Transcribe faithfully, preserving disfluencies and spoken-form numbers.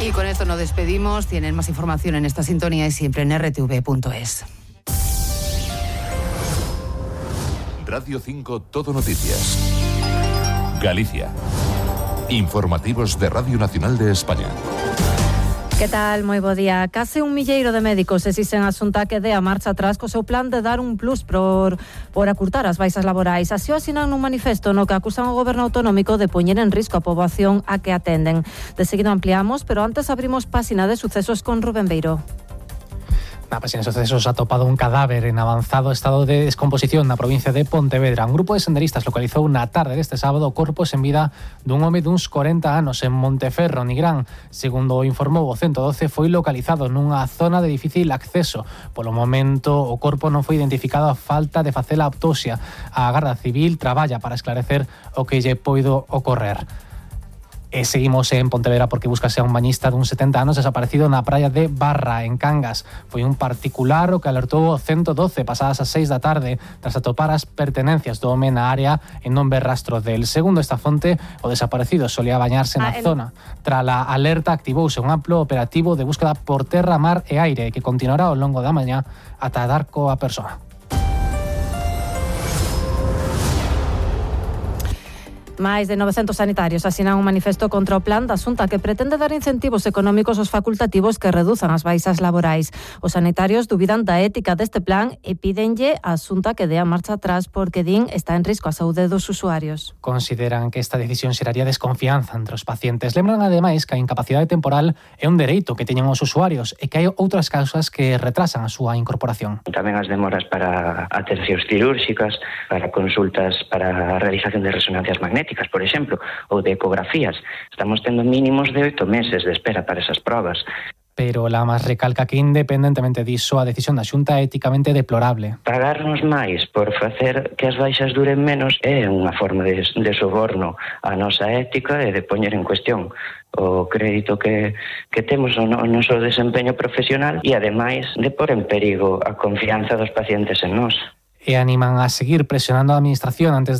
Y con esto nos despedimos. Tienen más información en esta sintonía y siempre en erre te ve punto es. Radio cinco Todo Noticias. Galicia. Informativos de Radio Nacional de España. Que tal? Moi bo día. Case un milleiro de médicos exixen a Xunta que dé a marcha atrás co seu plan de dar un plus por, por acurtar as baixas laborais. Así o asinan nun manifesto no que acusan o goberno autonómico de poñer en risco a poboación a que atenden. De seguido ampliamos, pero antes abrimos páxina de sucesos con Rubén Beiro. Na páxina de sucesos ha topado un cadáver en avanzado estado de descomposición na provincia de Pontevedra. Un grupo de senderistas localizou na tarde deste sábado o corpo sen vida dun home duns corenta anos en Monteferro, Nigrán. Segundo informou o ciento doce, foi localizado nunha zona de difícil acceso. Polo momento, o corpo non foi identificado a falta de facer a autopsia. A Garda Civil traballa para esclarecer o que lle poido ocorrer. E seguimos en Pontevedra porque buscase a un bañista dun setenta anos desaparecido na praia de Barra, en Cangas. Foi un particular o que alertou o ciento doce pasadas as seis da tarde tras atopar as pertenencias do home na área e non ver rastro del. Segundo esta fonte, o desaparecido solía bañarse na ah, el... zona. Tras a alerta activouse un amplo operativo de búsqueda por terra, mar e aire que continuará ao longo da mañá ata dar coa persoa. Máis de novecentos sanitarios asinan un manifesto contra o plan da Xunta que pretende dar incentivos económicos aos facultativos que reduzan as baixas laborais. Os sanitarios dubidan da ética deste plan e pídenlle á Xunta que dé a marcha atrás porque din está en risco a saúde dos usuarios. Consideran que esta decisión xeraría desconfianza entre os pacientes. Lembran ademais que a incapacidade temporal é un dereito que teñen os usuarios e que hai outras causas que retrasan a súa incorporación. Tamén as demoras para atencións cirúrxicas, para consultas para a realización de resonancias magnéticas, por exemplo, ou de ecografías. Estamos tendo mínimos de oito meses de espera para esas probas. Pero Lamas recalca que, independentemente diso, a decisión da Xunta é éticamente deplorable. Pagarnos máis por facer que as baixas duren menos é unha forma de, de soborno á nosa ética e de poñer en cuestión o crédito que, que temos o, no, o noso desempeño profesional e, ademais, de pôr en perigo a confianza dos pacientes en nós. E animan a seguir presionando a administración antes